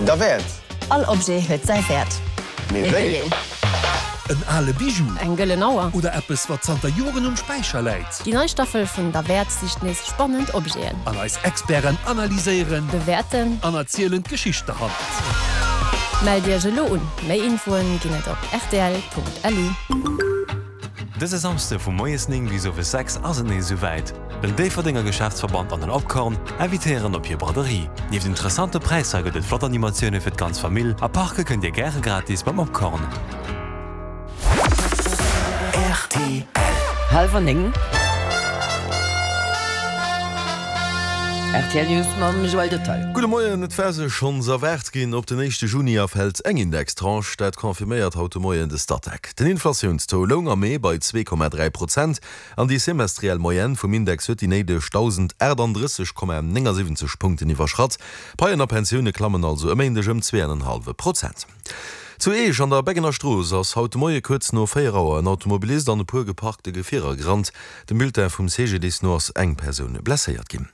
Derwäert! All Objet huet säi Wäert. Mee wéi een? En ale Bijou. Eng gëllen Auer. Oder eppes, wat zanter Joren um Späicher läit. Déi nei Staffel vun Derwäert sicht nees spannend Objeten. An eis Experten analyséieren. Bewäerten. An erzielen d'Geschicht derhannert. Mellt Iech elo un! Méi Infoen ginn et op rtl.lu. Dëse Samsde vu moies 9 bis owes 6 ass et nees esou wäit. Den Déifferdenger Geschäftsverband an den Opkorn invitéieren op hir Braderie. Nieft interessante Präisser gëtt et flott Animatioune fir d'ganz Famill a parke kënnt dir gäre gratis beim Opkorn. Rtl. Hallwer 9. Rtl News mam Joël Detail. Gudde Moien, Et war sech schonns erwaart ginn, op den éischte Juni erfält eng Indextranche. Dat confirméiert haut de Moien de Statec. Den Inflatiounstaux loung am Mee bei 2,3 Prozent an déi semestriell Moyenne vum Index huet déi néideg 1.038,79 Punkten iwwerschratt. Paien a Pensioune klammen also e Méindeg ëm 2,5 Prozent. Zu Eech an der Beggener Strooss ass haut de Moie kuerz no 4 Auer en Automobilist an e puer geparkte Gefierer gerannt. Dem Bulletin vum CGDIS no ass eng Persoun blesséiert ginn.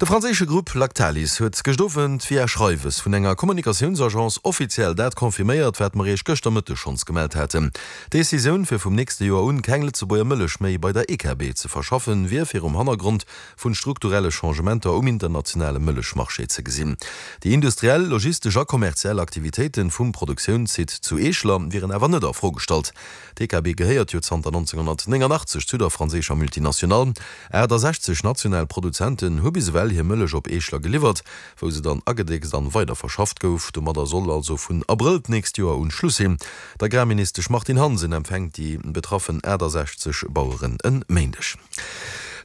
De franséische Grupp Lactalis huet gëscht Owend via Schreiwes vun enger Kommunikatiounsagence offiziell dat confirméiert, wat mer Iech gëschter Mëtteg schonns gemellt haten. D'Decisioun, fir vum nächste Joer un keng Lëtzebuerger Mëllech méi bei der EKB ze verschaffen, wier virum Hannergrond vun strukturelle Changementer um internationale Mëllechmarché ze gesinn. Déi industriell, logistesch a kommerziell Aktivitéiten vum Produktiounssite zu Eeschler wieren awer net a Fro gestallt. D'EKB gehéiert jo zanter 1989 zu der franséischer Multinationale. 68 national Produzenten hu bis ewell hir Mëllech op Eeschler geliwwert, wou se dann agedéckst an weiderverschafft gouf. Domadder soll also vun Abrëll d'nächst Joer un Schluss sinn. D'Agrarministesch Martine Hansen empfänkt déi betraffen 68 Baueren en Méindeg.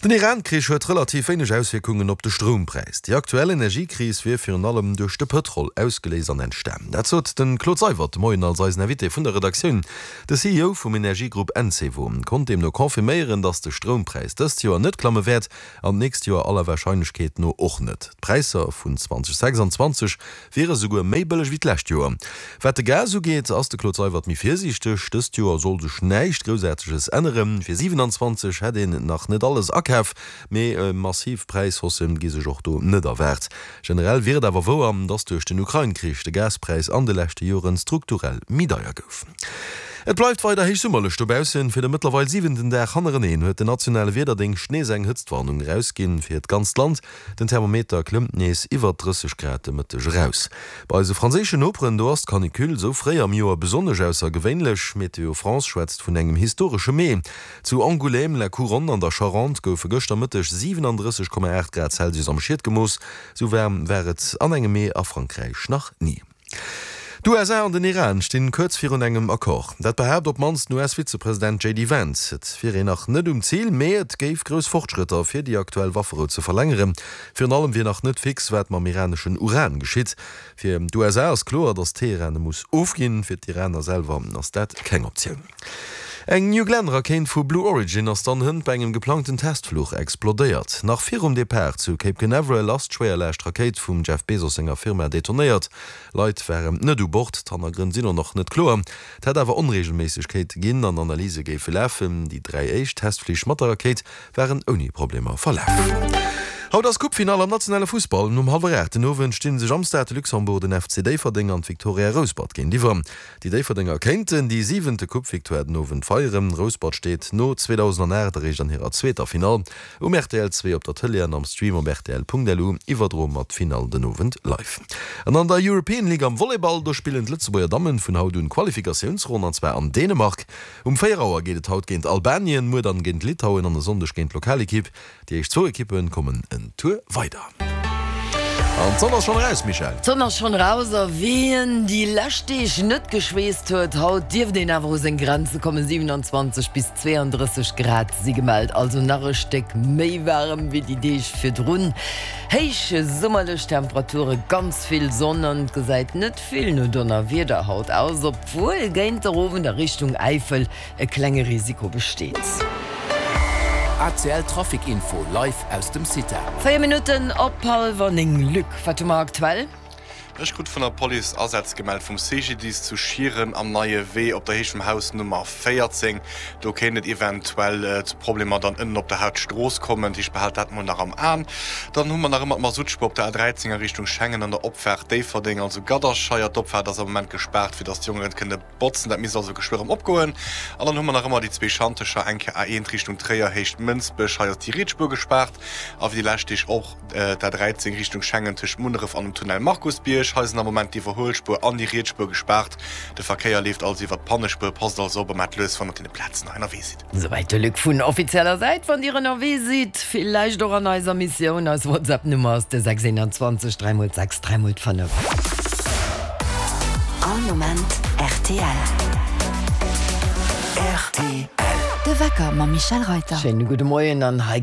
Den Iran-Krich huet relativ wéineg Auswierkungen op de Stroumpräis. Déi aktuell Energiekris wier virun allem duerch de Pëtrol ausgeléist an entstan. Dat sot de Claude Seywert de Moien als eisen Invité vun der Redaktioun. De CEO vum Energiegrupp Encevo konnt deemno confirméieren, datt de Stroumpräis dëst Joer net klamme wäert an d'nächst Joer aller Warscheinlechkeet no och net. D'Präisser vun 2026 wiere souguer méi bëlleg wéi d'lescht Joer. Wat de Gas ugeet, ass de Claude Seywert méi virsiichteg. Dëst Joer soll sech näischt Groussaarteges änneren. Fir 27 hätt een nach net alles akaf, mee massiv Präishaussë gi sech och do net erwaart. Generell wier et awer wouer, datt duerch den Ukrain-Krich de Gaspräis an de leschte Joren strukturell méi deier gouf. Et bleift weider héich summerlech dobaussen. Fir de mëttlerweil siwenten Dag hannereneen huet den nationale Wiederdéngscht nees eng Hëtztwarnung erausginn fir d'ganzt Land. Den Thermometer klëmmt nees iwwert 30 Grad de Mëtteg eraus. Bei eise franséischen Noperen, do ass d'Canicule esou fréi am Joer besonnesch aussergewéinlech. Météo France schwätzt vun engem historesche Mee. Zu Angoulême, La Couronne an der Charente goufe gëschter Mëtteg 37,8 Grad Celsius am Schiet gemooss. Sou waarm war et an engem Mee a Frankräich nach ni. D'USA an den Iran stinn kuerz virun engem Accord. Dat behaapt op d'mannst den US-Vizepresident JD Vance. Et wier een nach net um Zil, mee et géif grouss Fortschrëtter fir déi aktuell Wafferou ze verlängeren. Virun allem wier nach net fix, wat mam iraneschen Uran geschitt. Fir d'USA ass kloer, datt Teheran e muss ofginn. Fir d'Iraner selwer ass dat keng Optioun. Eng New Glenn-Rakéint vu Blue Origin ass dann hënt bei engem geplangten Testfluch explodéiert. Nach virum Depart zu Cape Canaveral ass d'Schwéierlaascht-Rakéit vum Jeff Bezos senger Firma detonéiert. Leit waren net u Bord, d'Hannergrënn sinn och nach net kloer. Et hätt awer Onreegelméissegkeete ginn an Analyse géife lafen. Déi 3 éischt Testflich mat der Rakéit waren ouni Problemer verlaf. Haut ass Coupe-Finall am nationale Fussball. Um hallwer 8 den Owend stinn sech am Stade de Luxembourg den FC Déifferdeng an d'Victoria Rouspert géintiwwer. Déi Déifferdenger kéinten déi siwente Coupe-Victoire den Owend feieren. Rouspert steet no 2008 eréischt an hirer zweeter Finall. Um rtl 2 op der Tëlee an am Stream op rtl.lu iwwerdroe mer d'Finall den Owend live. An an der European League am Volleyball, do spillen d'Lëtzebuerger Dammen vun haut un d'Qualifikatiounsronn an zwar an Dänemark. Um 4 Auer geet et haut géint Albanien, muer dann géint Litauen an e Sonndeg géint d'Lokalekipp. Déi éischt zwou Ekippe kommen en Tour weider. An d'Sonn ass schonn eraus, Michèle. D'Sonn ass schonn eraus a wien déi lescht Deeg net geschweesst huet, haut dierft een awer u seng Grenze kommen. 27 bis 32 Grad si gemellt, also nach e Stéck méi waarem wéi déi Deeg virdrun. Héich summerlech Temperature, ganz vill Sonn an et gesäit net vill no Donnerwieder haut aus, obwuel géint der Owend a Richtung Äifel e klenge Risiko besteet. ACL Trafic Info live aus dem CITA. 4 Minutten op hallwer 9. Luc, wat hu mer aktuell? Ech krut vun der Police Asätz gemellt vum CGDIS zu Schieren am Neie Wee op der Héicht vum Haus Nummer 14. Do kéint et eventuell zu Problemer dann ënnen op der Hauptstrooss kommen. Dat heescht, behaalt dat mol nach am Aen. Dann hu mer nach ëmmer d'Masuttspuer op der A13 a Richtung Schengen an der Opfaart Déifferdeng, also Gadderscheier. D'Opfaart ass am Moment gespaart, fir dass d'Jongen et kënne botzen. Dat misst also geschwë erëm opgoen. An dann hu mer nach ëmmer déi zwee Schantecher, eng Kéier A1 Richtung Tréier, Héicht Mënsbech, hei ass déi riets Spuer gespaart. A wéi déi lescht Deeg och d'A13 Richtung Schengen tëscht Munneref an dem Tunnel Markusbierg. Hei sinn am Moment d'Iwwerhuelspuer an déi riets Spuer gespaart. De Verkéier leeft also iwwer d'Pannespuer. Passt also op a maacht lues, wann der op deene Plazen hei ënnerwee sidd. Souwäit de Luc vun offizieller Säit. Wann Dir ënnerwee sidd, villäicht och an eiser Missioun, eis WhatsApp-Nummer ass de 621 3 x 6 3 x 5. All Moment rtl. Rtl. De Wecker mam Michèle Reyter. Schéine gudde Moien an hei.